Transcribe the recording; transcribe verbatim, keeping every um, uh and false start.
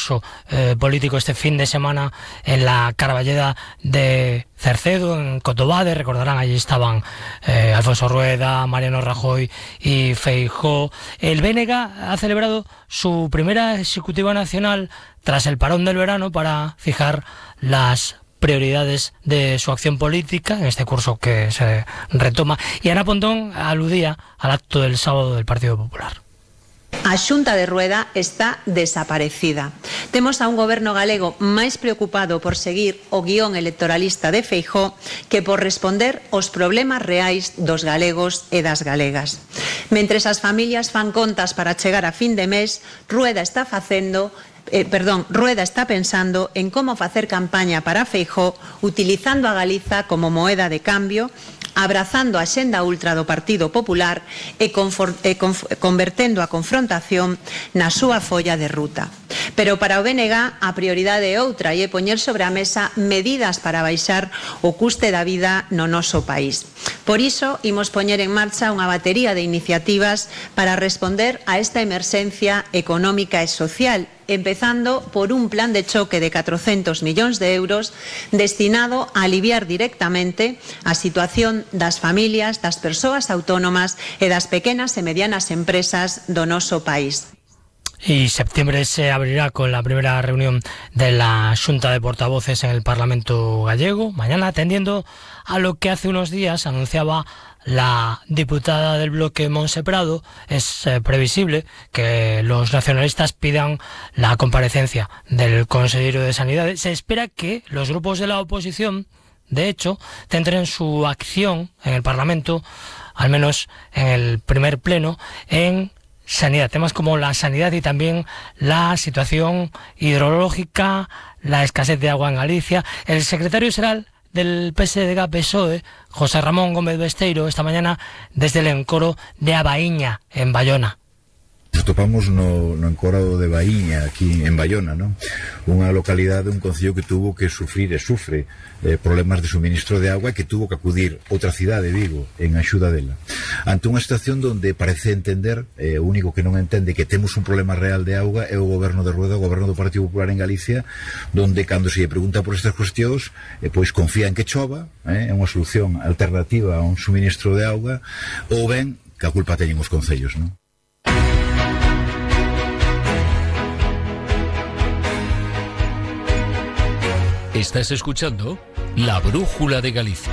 concurso eh, político este fin de semana en la Carballeda de Cercedo, en Cotobade. Recordarán, allí estaban eh, Alfonso Rueda, Mariano Rajoy y Feijóo. El B N G ha celebrado su primera ejecutiva nacional tras el parón del verano para fijar las prioridades de su acción política en este curso que se retoma. Y Ana Pontón aludía al acto del sábado del Partido Popular. A Xunta de Rueda está desaparecida. Temos a un goberno galego máis preocupado por seguir o guión electoralista de Feijóo que por responder aos problemas reais dos galegos e das galegas. Mentres as familias fan contas para chegar a fin de mes, Rueda está facendo Eh, perdón, Rueda está pensando en como facer campaña para Feijóo utilizando a Galiza como moeda de cambio, abrazando a xenda ultra do Partido Popular e, confor, e conf, convertendo a confrontación na súa folla de ruta. Pero para o B N G a prioridade é outra e é poñer sobre a mesa medidas para baixar o custe da vida no noso país. Por iso, imos poñer en marcha unha batería de iniciativas para responder a esta emerxencia económica e social, empezando por un plan de choque de catrocentos millóns de euros destinado a aliviar directamente a situación das familias, das persoas autónomas e das pequenas e medianas empresas do noso país. Y septiembre se abrirá con la primera reunión de la Xunta de Portavoces en el Parlamento gallego, mañana, atendiendo a lo que hace unos días anunciaba la diputada del bloque Montse Prado. Es eh, previsible que los nacionalistas pidan la comparecencia del consejero de Sanidad. Se espera que los grupos de la oposición, de hecho, centren su acción en el Parlamento, al menos en el primer pleno, en sanidad, temas como la sanidad y también la situación hidrológica, la escasez de agua en Galicia. El secretario general del P S D G P S O E, José Ramón Gómez Besteiro, esta mañana desde el encoro de Abaíña, en Bayona. Nos topamos no, no encoro de Baíña, aquí en Bayona, ¿no? Unha localidade, un concello que tuvo que sufrir e sufre eh, problemas de suministro de agua e que tuvo que acudir outra cidade, Vigo, en axuda dela. Ante unha situación donde parece entender, eh, o único que non entende que temos un problema real de auga é o goberno de Rueda, o goberno do Partido Popular en Galicia, donde cando se lle pregunta por estas cuestións, eh, pois confía en que chova, eh, é unha solución alternativa a un suministro de auga, ou ben que a culpa teñen os concellos, non? Estás escuchando La Brújula de Galicia.